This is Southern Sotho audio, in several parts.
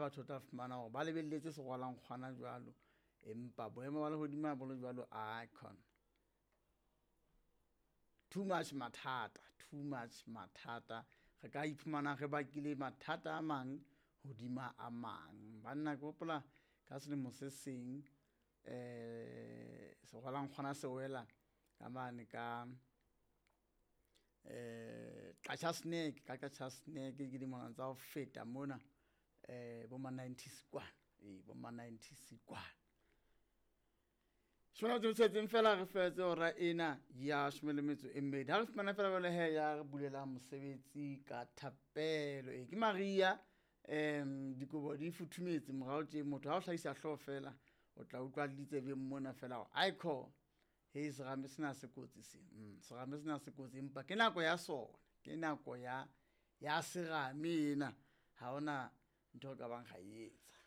batho tla fumana gore ba lebeletse segwalankgwana jalo empa boemo ba legodimo bo le jalo icon too much mathata too much mathata re ka iphumana re bakile mathata a mang hodima a mang banna ke gopola ka selemo se seng um segwalankgwana se wela ka mane ka um Qacha Snack ka Qacha Snack ke dimona tsa go feta mona um bo ma 90s kwana ee bo ma 90s kwana shona tse tshetseng fela re fetse ora ena ya shome le metso e mmedi ha re fumana fela jwale he ya re bulelang mosebetsi ka thapelo ee ke maria um dikobo di futhumetse morao tje motho ha o hlahisa hlooho fela o tla utlwa le ditsebeng mona fela gore aiko he serame sena se kotsi se serame sena se kotsi empa ke nako ya sona ke nako ya ya serame ena ha ona ntho e ka bang ga e etsa.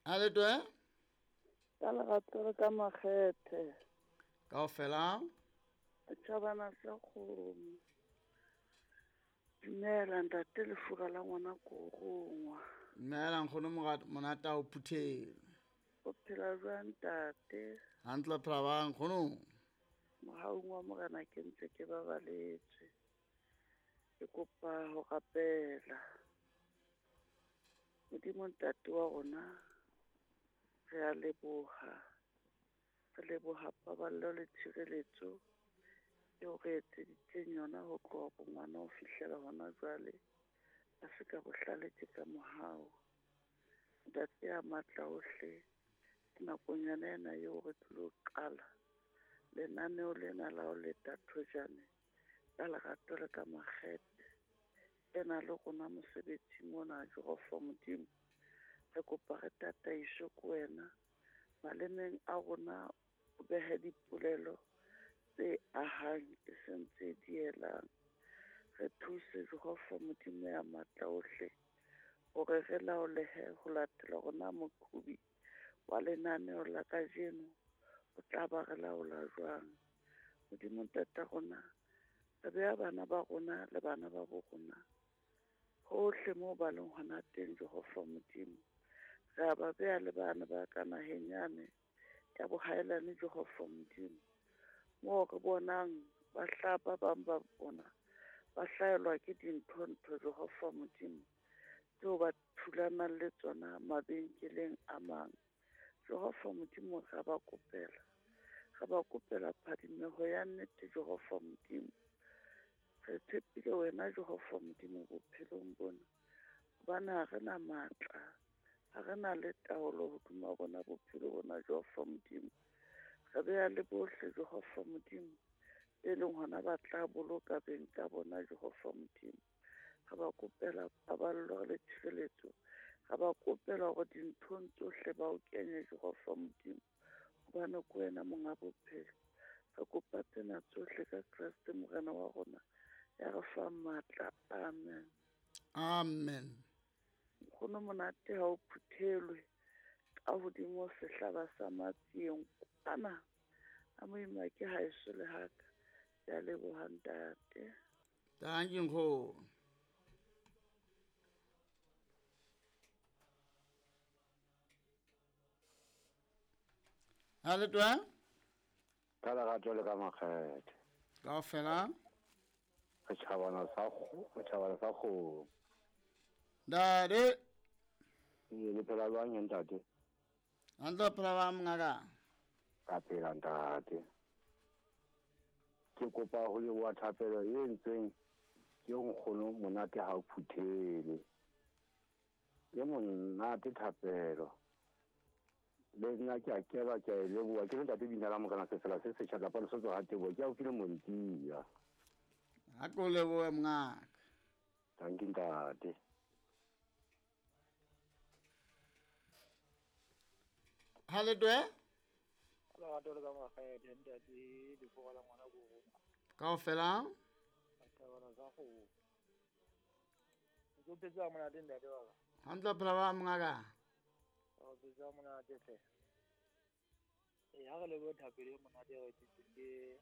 A le toe? Ka lerato le ka makgethe. Kaofela. Setjhabana sa kgomo. Dumela ntate lefura la ngwana ko rongwa. Dumela nkgono monate o phuthelo. O phela jwang ntate? Hantle phela bang nkgono. Mohaung wa Morena ke ntse ke babaletswe. Ke kopa ho rapela. Modimo ntate wa rona re a leboha. Re leboha paballo le tshireletso eo re etseditseng yona ho tloha bongwana ho fihlela hona jwale. A se ka bohlale ke ka mohau. Ntate ya matla ohle, nakonyana ena eo re tlilo qala lenaneo lena la ho leta thojane ka lerato le ka makgethe. Ena le rona mosebetsing ona Jehova Modimo. Re kopa re tataiswe ke wena. Malemeng a rona o behe dipolelo tse ahang e seng tse dielang. Re thuse Jehova Modimo ya matla ohle hore re laolehe ho latela rona moqhobi wa lenaneo la kajeno o tla ba re laola jwang. Modimo ntata rona, re beha bana ba rona le bana ba bo rona hohle moo ba leng hona teng Jehova Modimo. Re a ba beha le bana ba ka naheng yane ya bohaelane Jehova Modimo. Moo re bonang ba hla ba bang ba bona ba hlaelwa ke dintho-ntho Jehova Modimo tseo ba thulanang le tsona mabenkeleng a mang. Jehova Modimo re ba kopela. Re ba kopela phadimeho ya nnete Jehova Modimo. Re tshepile wena Jehova Modimo bophelong bona. Hobane ha re na matla, ha re na le taolo hodima bona bophelo bona Jehova Modimo. Re beha le bohle Jehova Modimo e leng hona ba tla boloka beng ka bona Jehova Modimo. Re ba kopela paballo le tshireletso. Re ba kopela hore dinthong tsohle ba o kenye Jehova Modimo. Hobane ke wena monga bophelo. Re kopa tsena tsohle ka Kreste Morena wa rona ya re fang matla. Amen. Amen. Nkgono monate ha o phuthelwe ka hodimo sehlaba sa matsieng kwana. A moima ke haeso le haka. Ke a leboha ntate. Thank you nkgono. Ha le twa? Ka lerato le ka makgethe. Kaofela. Setjhabana sa kgomo. Ntate. Le phela jwang ntate? Hantle phela ba mongaka. Ka phela ntate. Ke kopa ho leboha thapelo e entsweng ke nkgono monate ha o phuthele. Ke monate thapelo. Le nna ke a keba ke a e leboha. Ke ntate bina la Morena sefela se setjha kapa lesotho ha teboho. Ke a o file montia. Ha ko lebohe mongaka. Thank you ntate. Ha le twe? Lerato le ka makgethe ntate lefura la ngwana ko rongwa. Kaofela. Setjhabana sa kgomo. O phetse ha monate ntate wa ka. Hantle phela ba mongaka. O phetse ha monate hle. Ha re lebohe thapelo e monate e re etsetseng ke